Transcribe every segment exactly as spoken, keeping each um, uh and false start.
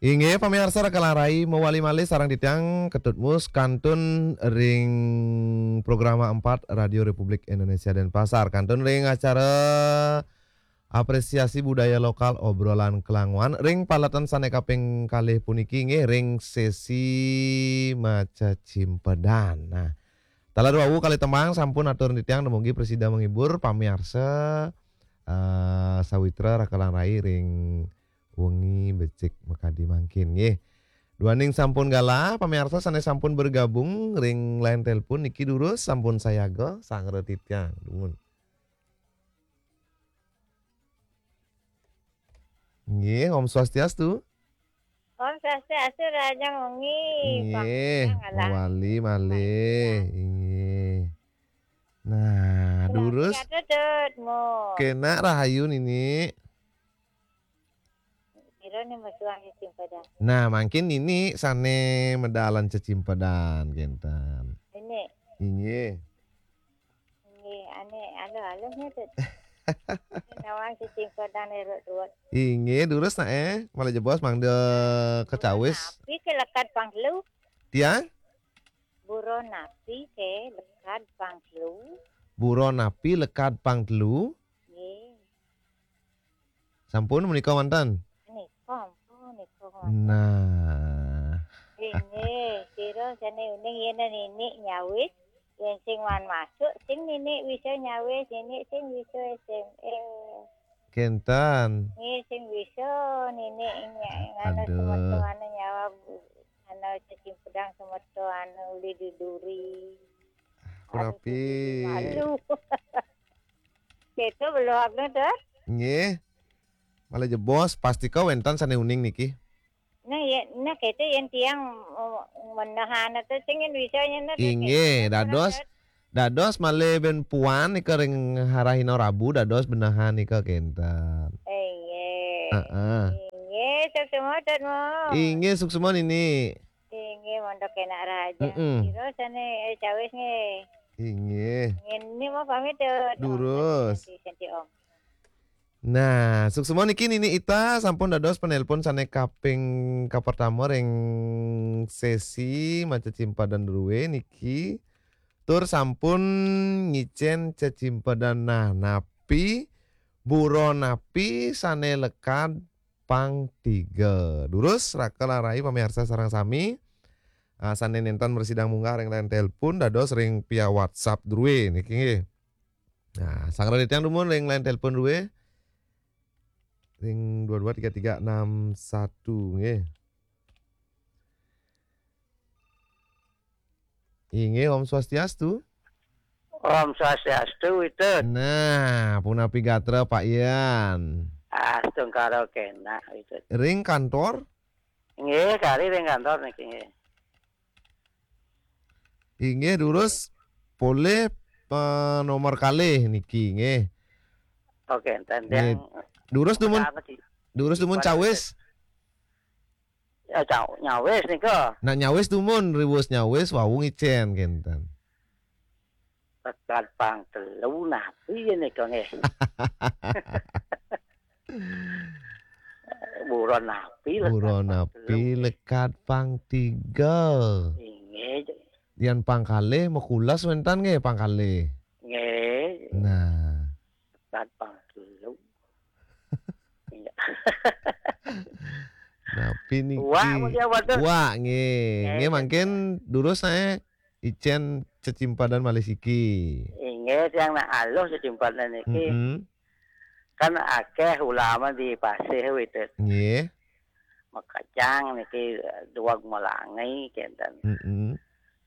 Inggih, pamiarsa, Raka Larai mawali malih sareng titiang Ketut Mus kantun ring programa empat Radio Republik Indonesia Denpasar. Kantun ring acara apresiasi budaya lokal obrolan kelanguan ring paletan sane kaping kalih puniki, inggih ring sesi maca cimpedan. Nah, taler wau kalih tembang sampun atur titiang, dumugi prasida menghibur pamiarsa, eh, sawitra Raka Larai ring wengi becik makadi mangkin, nggih. Duaning sampun galah, pamiarsa sane sampun bergabung ring line telepon niki durus sampun sayaga, sangra titiang. Dumun. Nggih, Om Swastiastu. Om Swastiastu, rahajeng wengi. Nggih, Pak Kang, alah. Mawali malih. Pak Kang. Inggih. Nah, punapi durus. Katutut, Mo. Kenak rahayu, Nini. Pira nih, Mas, suang cecimpedan? Nah, mangkin Nini sane medalan cecimpedan, kenten. Nini. Inggih. Nggih, ane aluh-aluh nih, Tut. Nawang cecimpedan eruk ruwet. Inggih, durus nae, malih jebos mangda kacawis. Napi ke lekad pang telu? Tiang? Buron napi ke lekad pang telu? Buron napi lekad pang telu? Nggih. Sampun menika wonten? Nika, ampun, nika wonten. Nah. Inggih, sira sane uning yen Nini nyawis, yen sing wan masuk, sing Nini bisa nyawis, Nini sing bisa S M S. Kenten. Nggih, sing bisa Nini nya-, nganu. Aduh. Semeton anu nyawab, anu cecimpedan semeton anu uli duduri. Punapi? Aduh, malu. Keto belum, Tut? Nggih. Malih jebos, pastika wenten sane uning niki. Nah, ya, nah, keto yen tiang, eh, menehan atau sing yen bisa yen, nah, inggih, keto, dados, Tut. Dados malih ben puan nika ring Harahina Rabu dados benehan nika kenten. Inggih. Heeh. Inggih, suksma, Tut, Mo. Inggih, suksma, Nini. Inggih, montok enak raja. Mm-mm. Sira sane, eh, cawis nggih. Inggih. Nggih, Nini mau pamit, Tut. Durus. Senti, senti, Om. Nah, suksma niki Nini Ita sampun dados penelpon sane kaping kapertama ring sesi maca cimpedan druwe niki. Tur sampun ngicen cecimpedan. Nah, napi buron napi sane lekad pang tiga? Durus, Raka Larai pamiarsa sareng sami, ah, sane nenten mrasidang munggah ring line telepon dados ring via WhatsApp druwe niki nggih. Nah, sangra titiang dumun ring line telepon druwe. Ring dua dua tiga tiga enam satu nggih. Inggih, Om Swastiastu. Om Swastiastu, Witut. Nah, punapi gatra, Pak Yan? Astungkara kenak, Witut. Ring kantor? Nggih, kari ring kantor niki, nggih. Inggih, durus polih, eh, nomor kalih niki, nggih. Oke, enten nggih. Yang durus dumun, pertama di, durus dumun pada cawis. Ya, caw-, nyawis nika. Nah, nyawis dumun, riwus nyawis, wau ngicen kenten. Lekad pang telu napi ya nika nggih? Buron napi lekad pang telu? Buron napi lekad pang tiga? Inggih. Yan pang kalih makulas wenten nggih pang kalih. Nggih. Nah. Lekad pang telu. Iya. Napi niki? Wak, mungkin apa tuh? Wak, nggih. Nggih, nggih, mangkin durus ae icen cecimpadan malih siki. Inggih, tiang nak aluh cecimpadan niki. Mm-mm. Kan akeh ulama di pasih, Witut. Nggih. Makajang niki, duag malangi kenten. Mm-mm.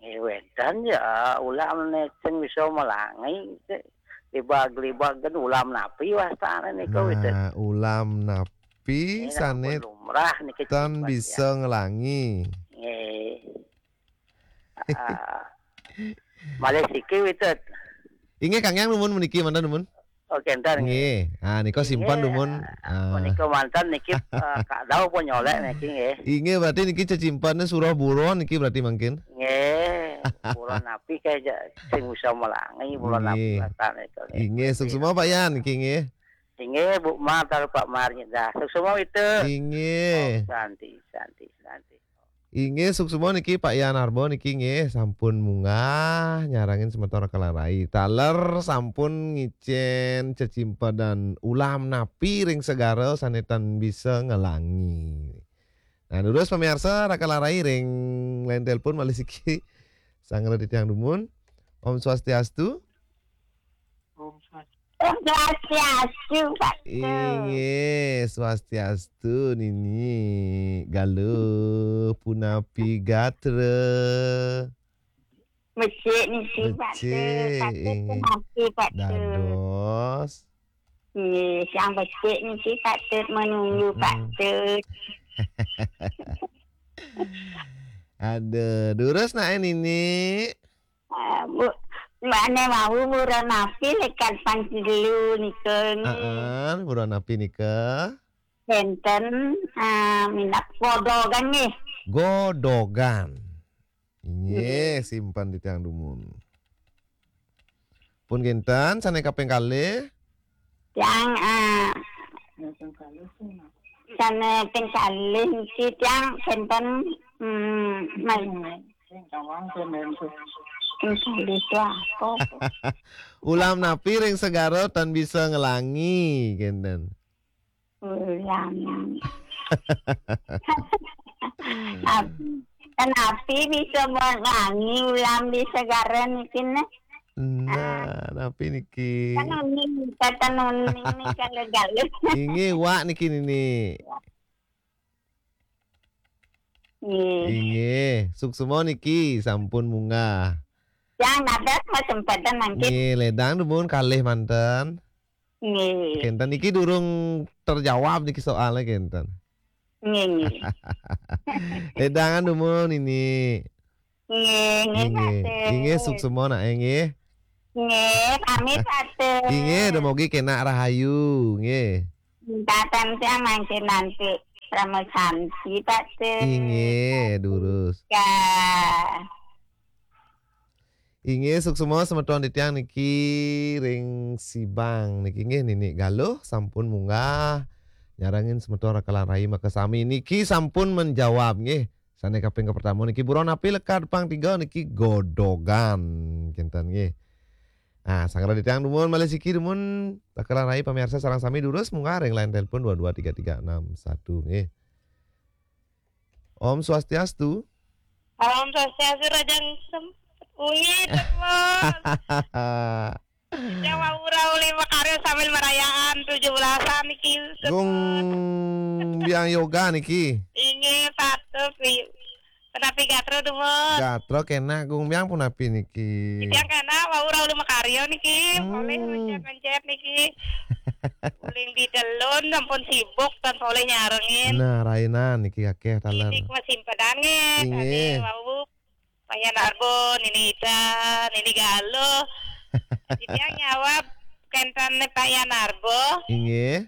Nggih, wenten ya, ulam ne sing bisa malangi, libag-libag kan ulam napi wastane nika, Witut? Nah, ulam napi sane lumrah niki tan bisa ngelangi? Nggih. Ah, malih siki, Witut. Inggih, Kang Yang, numun meniki, mantan numun. Oke, entar nggih. Nggih. Ah, nika simpan dumun. Ah, ah, menika mantan niki, eh, Kak Dau pun nyolek niki nggih. Inggih, berarti niki cecimpane surah buron niki berarti mangkin. Nggih. Buron napi kae ja-, sing bisa melangi, buron napi wastane nika nggih. Inggih, suksma Pak Yan niki nggih. Inggih, Bu Mar, taler Pak Mar nyedah. Suksma itu. Inggih. Om Santi, Santi, Santi. Inggih, suksma niki Pak Yan Arbo niki nggih sampun munggah nyarengin semeton Raka Lan Rai. Taler sampun ngicen cecimpedan ulam napi ring segara sane tan bisa ngelangi. Nah, durus pamiarsa Raka Lan Rai ring line telepon malih siki. Sanggra titiang dumun. Om Swastiastu. Om Swastiastu. Om Swastiastu, Pak Tut. Inggih, Swastiastu, Nini. Galuh, punapi gatra? Becik niki, Pak Tut. Becik, Pak Tut, inggih. Punapi, Pak Tut? Dados. Nggih, sang becik niki, Pak Tut, menunggu, Pak Tut. Aduh, durus nae, Nini. Eh, Bu, mbakne wau buron napi lekad pang telu nika nggih? Heeh, buron napi nika? Enten, eh, minab godogan nggih. Godogan. Inggih, nggih. Simpen titiang dumun. Pun kinten, sane kaping kalih? Tiang, eh, sane ping kalih niki tiang kinten, mm, mal-, ping kalih tiang apa? Ulam napi ring segara tan bisa ngelangi, kinten. Ulam. Ap-, kenapi bisa ngelangi ulam di segara niki, nah? Nah, napi niki? Kan uning, kata uning niki gagal. Inggih, wak niki, Nini. Nggih. Inggih, suksma niki sampun munggah. Yang nadas mau sempedan mangkin. Nggih, ledang dumun kalih manten. Nggih. Kenten niki durung terjawab niki soalnya kenten. Nggih, nggih. Ledangan dumun ini. Nggih, nggih, inggih. Pak Tut. Inggih, suksma nak, nggih. Nggih, pamit, Pak Tut. Inggih, dumogi kenak rahayu, nggih. Minta tante mangkin nanti Rama Santi, Pak Tut. Inggih, durus. Ya. Inggih, suksma semeton titiang niki ring Sibang niki nggih, Nini Galuh sampun munggah nyarengin semeton Raka Lan Rai makasami niki sampun menjawab nggih. Sane kaping kapertama niki buron api lekad pang tiga niki godogan kinten nggih. Nah, sanggra titiang dumun malih siki dumun Raka Lan Rai pamiarsa sareng sami durus munggah ring line telepon dua dua tiga tiga enam satu nggih. Om Swastiastu. Om Swastiastu, Rajang Sem-, Ungi, Tut Mus. Yang mau uli makarya sambil merayaan tujuh belasan niki, Tut Mus. Gung Biang Yoga niki. Inggih, Pak Tut, wi-, punapi gatra, Tut Mus? Gatra kenak, Gung Biang punapi niki? Yang kenak, mau uli makarya niki, hmm, polih mencet-mencet niki. Uling di delun, ampun sibuk, tan polih nyarengin. Nah, rainan niki akeh taler. Niki masimpedan nggih, inggih. Tadi wau Pak Yan Arbo, Nini Ida, Nini Galuh. Titiang nyawab kenten Pak Yan Arbo. Inggih.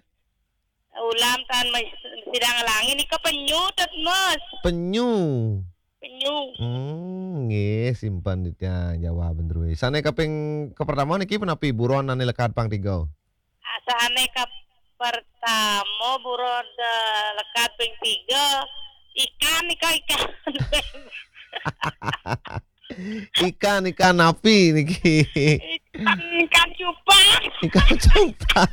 Ulam tan mes-, sida ngelangi nika penyu, Tut Mus. Penyu. Penyu. Hmm, nggih, simpen titiang jawaban druwe. Sane kaping kapertama niki punapi buron ane lekad pang tiga? Sane kapertama buron, eh, lekad ping tiga, ikan nika, ikan. Ikan, ikan napi niki? Ikan, ikan cupang. Ikan cupang.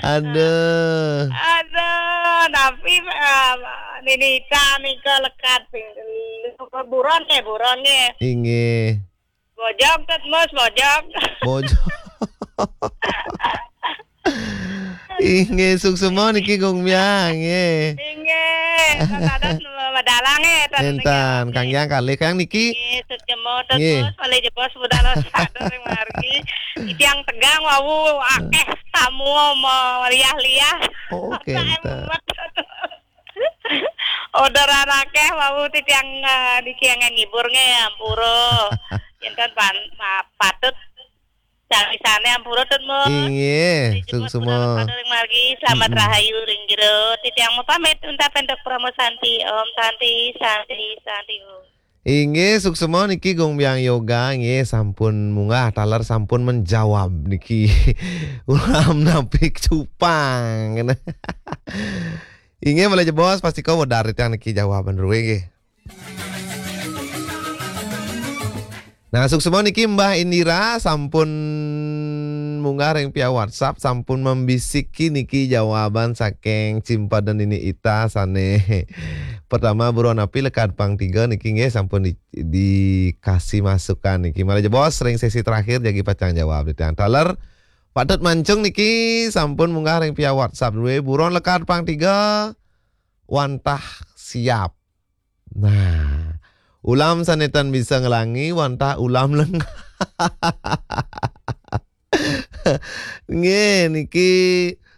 Aduh. Aduh, napi, eh, Nini Ida nika lekad ping telu. Buron nggih, buron nggih. Inggih. Bojog, Tut Mus, bojog. Bojog. Inggih, suksma niki Gung Biang, nggih. Inggih, tan dados madalang nggih, tan niki. Entan, Kang Yang kalih, Kang niki. Nggih, suksma, Tut Mus, nggih. Malih jebos budal sadar ring margi. Titiang tegang wau akeh tamu meriah-liah. Oh, oke, entan. Orderan akeh wau titiang, eh, niki yang ngibur nggih, ampura. Yen tan pan-, ma-, patut sawisane ampura, Tut Mus. Inggih, suksma. Ring margi, selamat rahayu ring jero. Titiang mau pamit untaken Tut Parama Santi. Om Santi, Santi, Santi Om. Inggih, suksma niki Gung Biang Yoga, nggih, sampun munggah, taler sampun menjawab niki. Ulam napi cupang. Inggih, malih jebos, pastika wedar titiang niki jawaban drué nggih. Nah, suksma niki Mbah Indira sampun munggah ring via WhatsApp, sampun membisiki niki jawaban saking Cimpeden Nini Ita sané pertama, buron napi lekad pang tiga niki nggih sampun di, dikasih masukan niki. Malih jebos ring sesi terakhir jagi pacang jawab titiang. Taler Patut Mancung niki sampun munggah ring via WhatsApp drué, buron lekad pang tiga wantah siap. Nah, ulam sané tan bisa nglangi wantah ulam lengah. Nggih, niki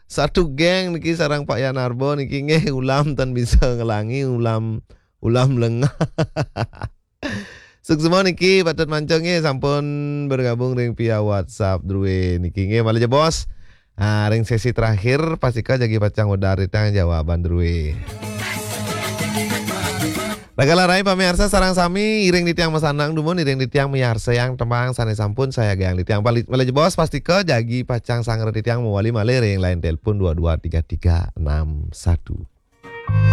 satu geng niki sareng Pak Yanarbo niki nggih ulam tan bisa nglangi ulam ulam lengah. Suksma niki Patut Mancung nggih sampun bergabung ring via WhatsApp drué niki nggih malih jebos. Ah, ring sesi terakhir pastika jagi pacang wedar titiang jawaban drué. Raga rai pamiarsa sareng sami iring titiang masanang dumun iring titiang miarsayang tembang sané sampun sayagayang titiang pali-, malih jebos pastika jagi pacang sangra titiang mawali malih ring line telepon dua dua tiga tiga enam satu.